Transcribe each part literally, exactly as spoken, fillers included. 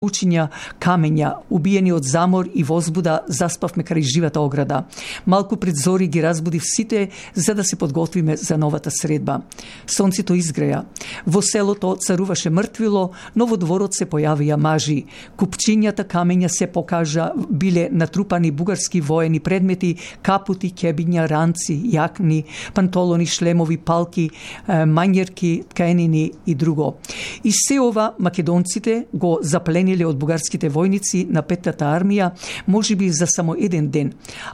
учиња, камења, убиени од замор и возбуда, заспавме крај живата ограда. Малку пред зори ги разбудив сите за да се подготвиме за новата средба. Сонцето изгреја. Во селото царуваше мртвило, но во дворот се појавија мажи. Купчињата камења се покажа, биле натрупани бугарски воени предмети, капути, кебиња, ранци, јакни, пантолони, шлемови, палки, мањерки, тканини и друго. И се ова македонците го заплениле од бугарските војници на петтата армија, можеби за само еден ден.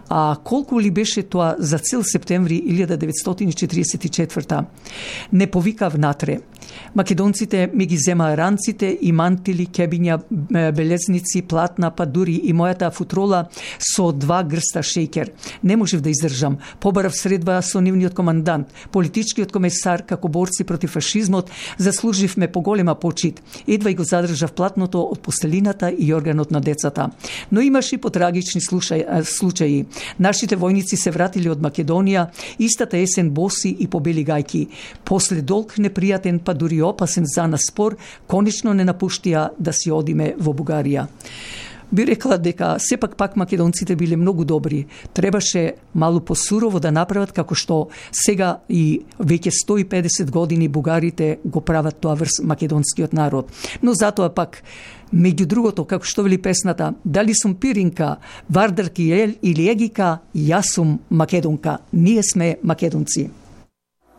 А колку ли беше тоа за цел септември илјада деветстотини четиридесет и четврта? Не повикав натре. Македонците ми ги зема ранците и мантили, кебиња, белезници, платна, па дури и мојата футрола со два грста шејкер. Не можев да издржам. Побарав средба со нивниот командант, политичкиот комесар, како борци против фашизмот, заслуживме поголема почит. Едва и го задржав платното од постелината и органот на децата. Но имаше и потрагични случаи. Нашите војници се вратиле од Македонија истата есен боси и по бели гајки. После долг непријатен, па дури опасен за нас спор, конечно не напуштија да си одиме во Бугарија. Би рекла дека сепак пак македонците биле многу добри. Требаше малку посурово да направат како што сега и веќе сто и педесет години бугарите го прават тоа врз македонскиот народ. Но затоа пак, меѓу другото, како што вели песната, дали сум пиринка, вардарки или егика, јас сум македонка. Ние сме македонци.